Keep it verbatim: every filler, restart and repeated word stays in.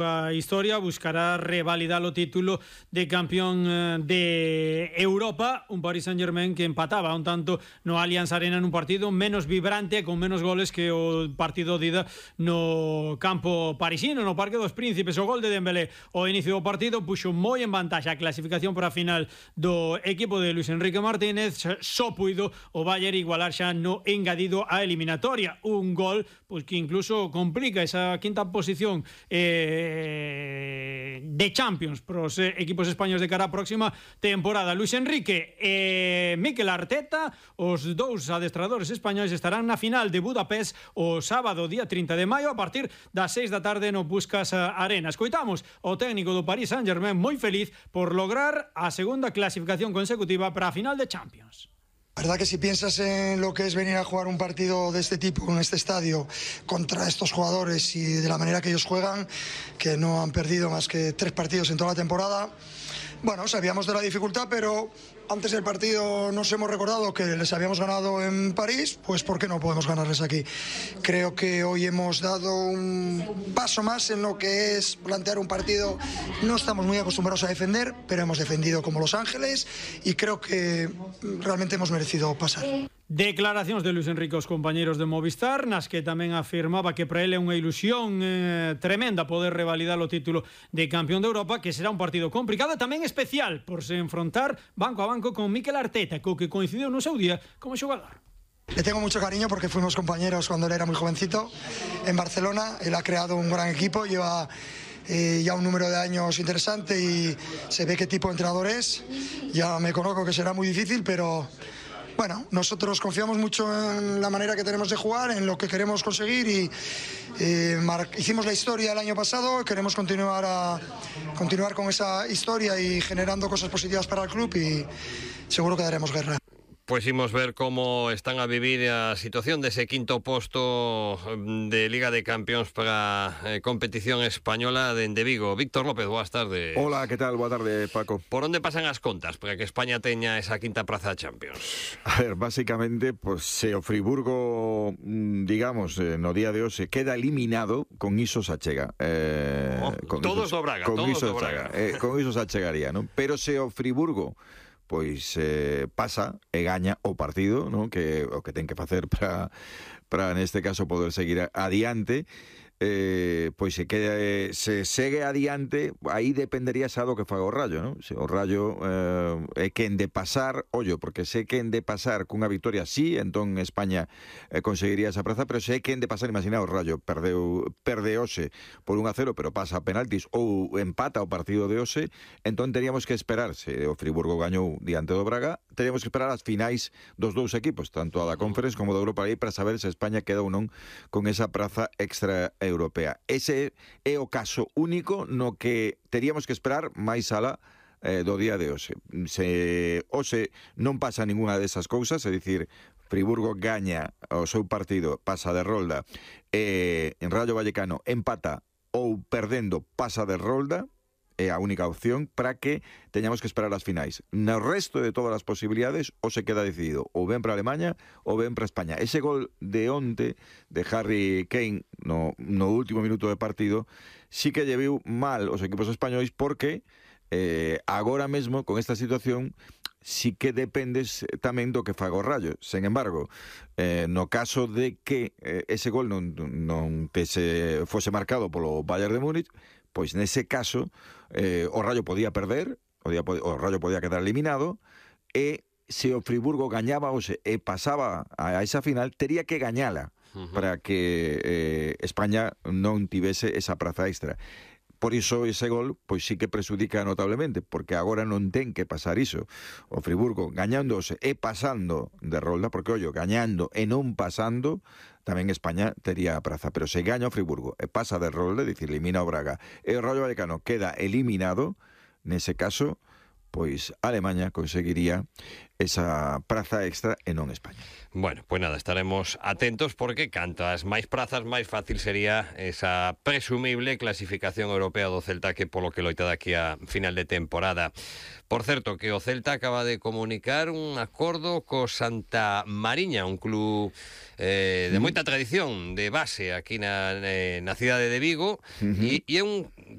A historia buscará revalidar o título de campeón de Europa, un Paris Saint-Germain que empataba un tanto no Allianz Arena nun partido menos vibrante, con menos goles que o partido de ida no campo parisino, no Parque dos Príncipes. O gol de Dembélé ao inicio do partido puxo moi en vantaxe a clasificación para a final do equipo de Luis Enrique Martínez. Só puido o Bayern igualar xa no engadido a eliminatoria, un gol pois que incluso complica esa quinta posición eh de Champions para os equipos españoles de cara á próxima temporada. Luis Enrique e Mikel Arteta, os dous adestradores españoles, estarán na final de Budapest o sábado día trinta de maio a partir das seis da tarde no Puskás Arena. Escoitamos o técnico do Paris Saint-Germain moi feliz por lograr a segunda clasificación consecutiva para a final de Champions. La verdad que si piensas en lo que es venir a jugar un partido de este tipo en este estadio contra estos jugadores y de la manera que ellos juegan, que no han perdido más que tres partidos en toda la temporada, bueno, sabíamos de la dificultad, pero antes del partido nos hemos recordado que les habíamos ganado en París, pues ¿por qué no podemos ganarles aquí? Creo que hoy hemos dado un paso más en lo que es plantear un partido. No estamos muy acostumbrados a defender, pero hemos defendido como Los Ángeles y creo que realmente hemos merecido pasar. Declaracións de Luis Enrique aos compañeros de Movistar, nas que tamén afirmaba que para ele é unha ilusión eh, tremenda poder revalidar o título de campeón de Europa, que será un partido complicado e tamén especial por se enfrontar banco a banco con Mikel Arteta, co que coincidiu no seu día como xogador. Le tengo mucho cariño porque fuimos compañeros cuando él era muy jovencito en Barcelona. Él ha creado un gran equipo, lleva eh, ya un número de años interesante y se ve qué tipo de entrenador es. Ya me conozco que será muy difícil, pero bueno, nosotros confiamos mucho en la manera que tenemos de jugar, en lo que queremos conseguir y eh, hicimos la historia el año pasado, queremos continuar, a, continuar con esa historia y generando cosas positivas para el club y seguro que daremos guerra. Pues imos ver como están a vivir a situación dese quinto posto de Liga de Campeóns para eh, competición española dende Vigo. Víctor López, boas tardes. Hola, que tal? Boa tarde, Paco. Por onde pasan as contas para que España teña esa quinta praza de Champions? A ver, básicamente, pues se o Friburgo, digamos, eh, no día de hoxe queda eliminado, con iso se achega. Eh, oh, con todos iso, do Braga, con todos iso do Braga. Eh, con iso se achegaría, non? Pero se o Friburgo pois eh, pasa e gaña o partido, ¿no? Que o que ten que facer para para neste caso poder seguir adiante, eh, pois se queda, eh, se segue adiante, aí dependería xa do que faga o Rayo, ¿no? Se o Rayo eh, é quen de pasar, ollo, porque se quen de pasar cunha victoria sí, entón España eh, conseguiría esa praza, pero se é quen de pasar, imagina o Rayo perdeu perde hoxe por un a cero, pero pasa a penaltis ou empata o partido de hoxe, entón teríamos que esperar, se o Friburgo gañou diante do Braga, teríamos que esperar as finais dos dous equipos, tanto a da Conference como da Europa League, para saber se España queda ou non con esa praza extra europea. Ese é o caso único no que teríamos que esperar máis alá eh, do día de hoxe. Se hoxe non pasa ninguna desas cousas, é dicir, Friburgo gaña o seu partido, pasa de rolda, e en Rayo Vallecano empata ou perdendo pasa de rolda, é a única opción para que teñamos que esperar as finais. No resto de todas as posibilidades, ou se queda decidido, ou ben para Alemanha, ou ben para España. Ese gol de onte, de Harry Kane, no, no último minuto de partido, sí que lle viu mal os equipos españois, porque eh, agora mesmo, con esta situación, sí que dependes tamén do que faga o Rayo. Sen embargo, eh, no caso de que eh, ese gol non, non te se fose marcado polo Bayern de Múnich, pois nese caso eh, o Rayo podía perder, o, día, o Rayo podía quedar eliminado, e se o Friburgo gañaba hoxe e pasaba a esa final, tería que gañala uh-huh. para que eh, España non tivese esa praza extra. Por iso ese gol pois sí que presudica notablemente, porque agora non ten que pasar iso. O Friburgo gañándose e pasando de rolda, porque ollo, gañando e non pasando, tamén España tería a praza. Pero se gaña o Friburgo e pasa de rolda, é dicir, elimina o Braga, e o Rayo Vallecano queda eliminado, nese caso, pois Alemaña conseguiría esa praza extra e non España. Bueno, pues nada, estaremos atentos porque cantas máis prazas, máis fácil sería esa presumible clasificación europea do Celta que polo que loita daqui a final de temporada. Por certo, que o Celta acaba de comunicar un acordo co Santa Mariña, un club eh, de moita tradición de base aquí na, eh, na cidade de Vigo, uh-huh. e, e é un